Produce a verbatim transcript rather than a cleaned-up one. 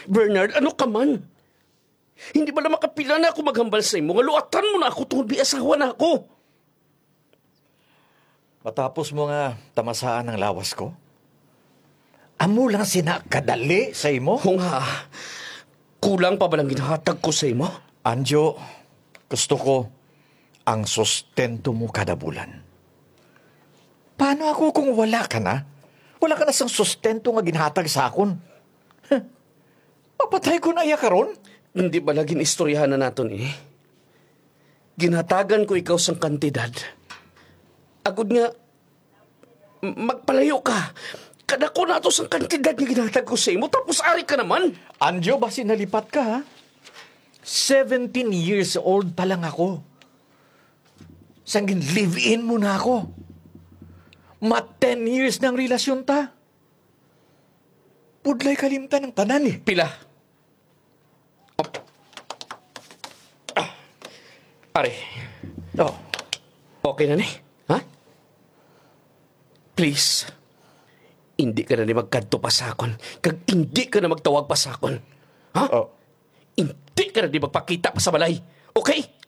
Bernard, ano ka man? Hindi ba na makapila na ako maghambal sa imo nga luatan mo na ako tungod may asawa na ako? Matapos mo nga tamasaan ang lawas ko, amo lang sina kadali sa imo? Kung ha, kulang pa ba lang ginahatag ko sa imo? Anjo, gusto ko ang sustento mo kada bulan. Paano ako kung wala ka na? Wala ka na sang sustento nga ginhatag sa akon. Huh. Mapatay ko na iya karon? Hindi ba lagi istoryahan na naton ini? Ginhatagan ko ikaw sang kantidad. Agod nga, m-, magpalayo ka. Kadako na to sang kantidad nga ginhatag ko sa imo, tapos ari ka naman. Anjo, basi nalipat ka, ha? Seventeen years old pa lang ako. Sang gin-live-in mo na ako. Ma ten years ng relasyon ta. Pudlay kalimtan ang tanan, eh. Pila? Ah, pare. Oh. Okay na ni? Ha? Please. Hindi ka na ni magkadto pa sa akon. Kag hindi ka na magtawag pa sa akon. Ha? Oh. Hindi ka na ni magpakita pa sa balay. Okay?